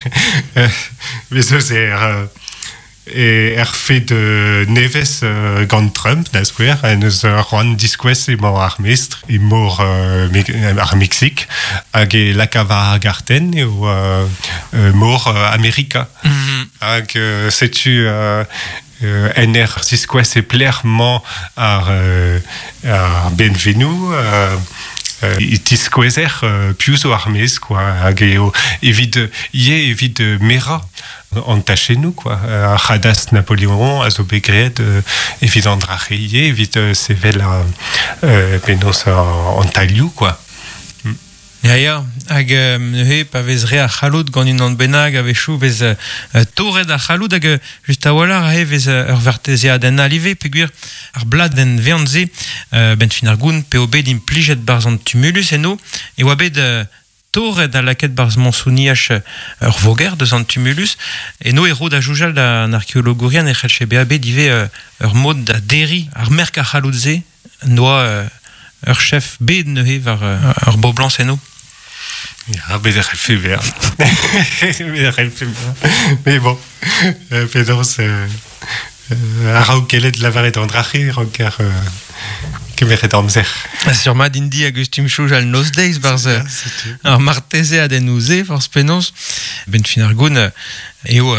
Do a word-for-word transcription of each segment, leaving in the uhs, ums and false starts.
Bez eus er, er fed nevez gant Trump, da skouer, en eus c'hoant diskouez emañ ar mestr e mor ar Meksik, hag e laka war ar gartenn eo mor Amerika. Mm-hmm. Hag setu en er ziskouez e plec'h-mañ ar, ar benvenoù, e tiskouezer piv zo ar mez, quoi, hag eo evit, ivez evit merañ an tachennoù, quoi. Ar c'hadastr Napoleon a zo bet graet evit an drache ivez, evit sevel ar penaos an tailhoù, quoi. Ya, ya, hag neuze pa vez re ar c'halloud gant unan bennak a-wechoù vez uh, torret ar c'halloud hag just a-walc'h aze vez ur vartezeadenn all ivez peogwir ar bladenn vean-se uh, benn fin ar goun p'eo bet implijet barzh an tumulus eno e oa bet uh, torret ha lakaet barzh mañsouniaj ur voger deus an tumulus eno e ro da soñjal d'an arkeologourien e c'hellfe bezañ bet ivez uh, ur mod da derriñ ar merk ar c'halloud-se noa uh, ur chef bet neuze war uh, ur boblañs eno. Ya, bet e c'hellfe bezañ. Bet e c'hellfe bezañ. Mais bon, euh, penaos euh, a-raok gellet lavaret an drache ranker euh, kemeret amzer. Sur mat indi hag eus tum soñjal noz-deiz barzh ar martezeadennoù-se forzh penaos. Ben fin ar goun eo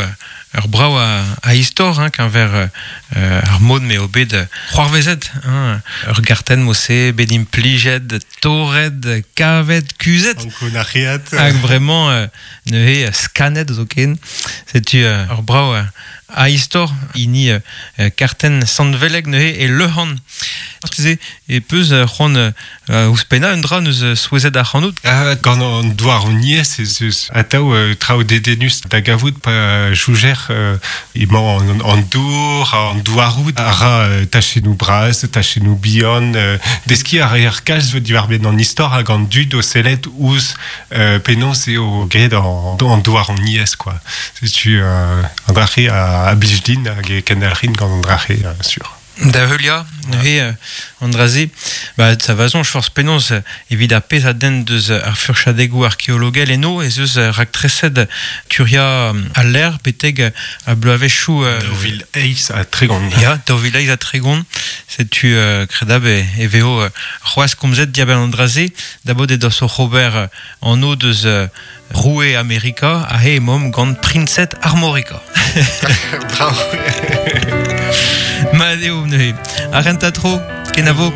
ur brav a, a istor, hein, keñver euh, ar mod m'eo bet c'hoarvezet, hein, ur gartenn mo-se bet implijet, torret, kavet, kuzhet. Ankounac'heat. Hag vraiment euh, neuze skannet zoken. Setu euh, ur brav a istor hini euh, kartenn Sant-Veleg neuze e Leuhan. Marteze e peus c'hoant euh, ouzhpennañ un dra neus souezhet ac'hanout. Ah, gant an douaroniezh ez eus atav euh, traoù dedennus da gavout pa joujer euh, emañ an, an dour, an douaroù a ra euh, tachennoù bras, tachennoù bihan, euh, deskiñ a reer kalz diwar-benn an istor hag an dud o sellet ouzh euh, penaos eo graet an, an douaroniezh, quoi. Setu euh, an drache a, a blij din hag e kendalc'hin gant an drache, euh, sur. Da heuliañ, neuze an dra-se, ba, ça va soñj forzh penaos evit ar pezh a denn deus ar furchadegoù arkeologel eno ez eus raktreset turiañ al lec'h betek a bloavezhioù... Daou vil eizh ha tregont. Ya, daou vil eizh ha tregont, setu uh, kredab e, e vezo uh, c'hoazh komzet diabenn an dra-se, dabot edos oc'h ober anv deus uh, roue Amerika ha he emaomp gant priñsed Armorika. Bravo. Mat eo neuze. Ar renta tro, kenavo.